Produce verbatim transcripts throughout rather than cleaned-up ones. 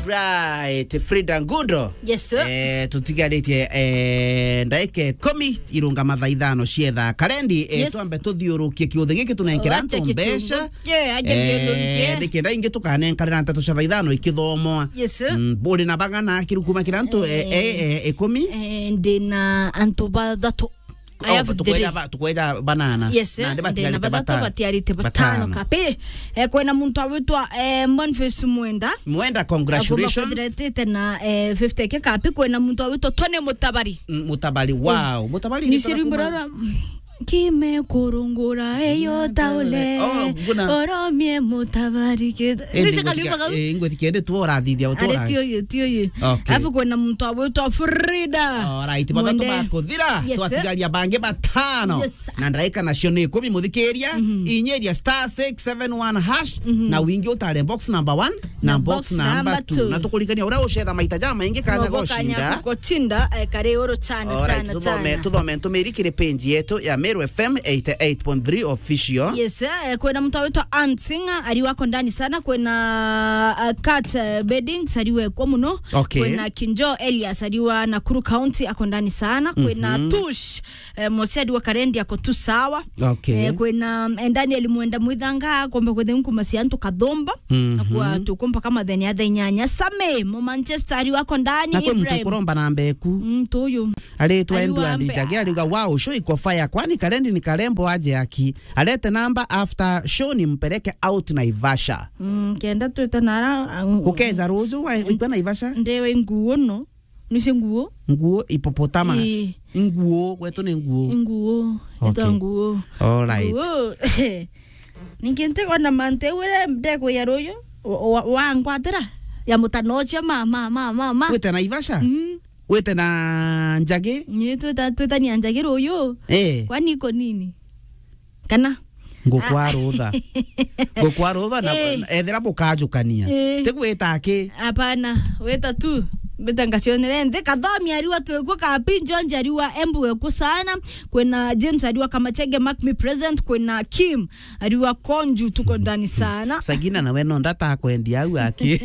Right, Frida Ngundo. Yes, sir. Eh, tutigaritie, eh, ndaika ikumi irungama thaa ithano cia thaa karendi, eh, Yes. twambe tuthiurukie kiuthi giki tunenkera Wacha antu mbeca. kitungu. Yeah, aje Eh, thiurukie. Nikenda ingi tukanenkanira nteto cia thaa ithano ikithomwa. Yes, sir. Mm, buri na bang'ana akiru kuma kira antu, eh, Eh. eh, eh, ikumi? Eh, ndi na antu bathatu. I Oh, have tukweja three. ba-, tukweja banana. Yes, eh, Nandi ndi na batigarite bathatu, batano. batigarite batano Batano. kapi. Eh, kwina muntu awitwa, eh, Boniface Mwenda. Mwenda, Akumba congratulations. kwithira etite na, eh, fifty K kapi. Kwina muntu awitwa Tony Mutabari. Mm, Mutabari, wow. Mutabari Ni ni rwimbo tarakumba. rwa, mm, Kimekurungura eyo taule. Oh, nguna. Oromie Mutabari kid-, Eh, Ni ndio sika ngwetikia-, rwimbo kau? eh, ngwetikia ndi tu urathithia Ari uturaga. ti uyu, ti uyu. Okay. Alafu kwina muntu awitwa Frida. Alright, bathatu Mwende. bakuthira, Yes, sir. twatigaria bangi batano. Yes, sir. Na ndaika nacio ni ikumi, muthikiria, Mhm. inyeria star six seven one hash, Mhm. na wingi utare box number one na Na box box number number two. two. Na tukuririkania uria ucetha maita jamaingi kana Nobo kanya gushinda. gucinda, eh, kari uru chana, Alright, chana, tuthome, chana. tuthome ntumiri kiri page yetu ya Meru F M eighty-eight point three official. Yes, eh, kwina muntu awitwa Ann Singer, ariwa ako ndani sana, kwina, uh, Kat, uh, Beddings, ariwe kwa muno, Okay. kwina Kinjo Elias, ariwa Nakuru County, ako ndani sana, kwina Mhm. Tush, eh, Mose, ariwa Karendi, ako tu sawa. Okay. Eh, kwina, eh, Daniel Mwenda Mwithanga, akomba kwithira nkuma cia antu kathumba, Mhm. akwa tukumba kama thenya ya thaa inyanya. Same, mu Manchester, ariwa ako ndani, Na kwi muntu Ibrahim. ukuromba namba eku. Mm, tuyu. Aritwa Ariwa Edward mbe- Njagi, ariuga, "Wow, show iko fire. Kwani Karendi ni karembo aje aki? Arete namba after show nimpeleke out Naivasha." Mm, kenda twita nara, ang- Gukeza ruju wa, ikwa Naivasha? Ndewe nguo no. Nise nguo? Nguo hippopotamus. Ii. Nguo, gwetu ni nguo. Nguo. Okay. Etwa nguo. All right. Nguo. Ningi ntikona mantu ure ndekwiya ruyu. Wa, wa, wangwatira. Ya mutano ucio ma, ma, ma, ma, ma. Wite Naivasha? Mm. Wite na Njagi? Ni twita, twitania Njagi ruyu. Eh. Kwani iko nini? Kana? Ngukwa Ah. rutha. Ngukwa rutha na Eh. ethira bukajukania. Eh. Tigwita ki? Hapana, wita tu. Mbita ngacionere nthi. Kathomi ariwa twikwo, Kapi Njonji ariwa embu wekwo sana. Kwina James ariwa Kamachege, mark me present. Kwina Kim ariwa Konju, tuko ndani sana. Sagina nawe no ndata kwendia au aki.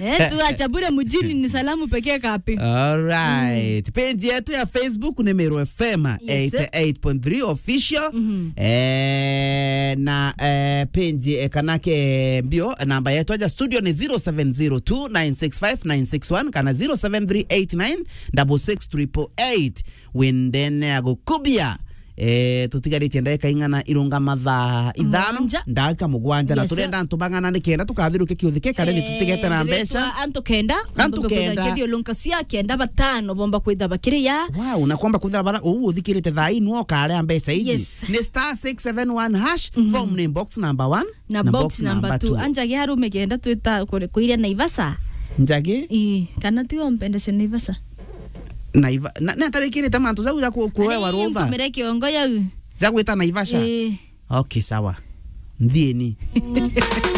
Eh, tu acha bure mjini ni salamu pekee Kapi. All right. Mm. Page yetu ya Facebook ni Meru F M Yes, sir. eighty-eight point three official. Mhm. Eh, na, eh, page, eh, kana ke mbio, namba yetu aja studio ni zero seven zero two nine six five nine six one kana zero seven three eight nine double six triple eight. Windene ya gukubia. Eh, tutigaritie ndagika ing'ana irungama thaa ithano, Mugwanja. ndagika mugwanja, na Yes, sir. turenda antu bang'ana nikenda tukathiruke kiuthi ke Karendi Eh, tutigete na mbeca. Antu kenda, Antu bomba kwitha kenda. Kithio lunka cia kenda batano bomba kwitha bakiria. Wow, na kwamba kwitha bara, uu uthikirite thaa inu okarea mbeca iji. Yes. Ni star six seven one hash, Mhm. form ni box number one. Na Na box box number number two. two. Anjagi arume kenda twita kure-, kuiria Naivasha. Njagi? Ii, kana ti ompendeshe Naivasha? Naiva-, na, na tabikirite mantu jau ja ku-, kuewa Ari, rutha. Ntumire kiongo yau. Ja gwita Naivasha? Ii. Okay, sawa. Nthieni.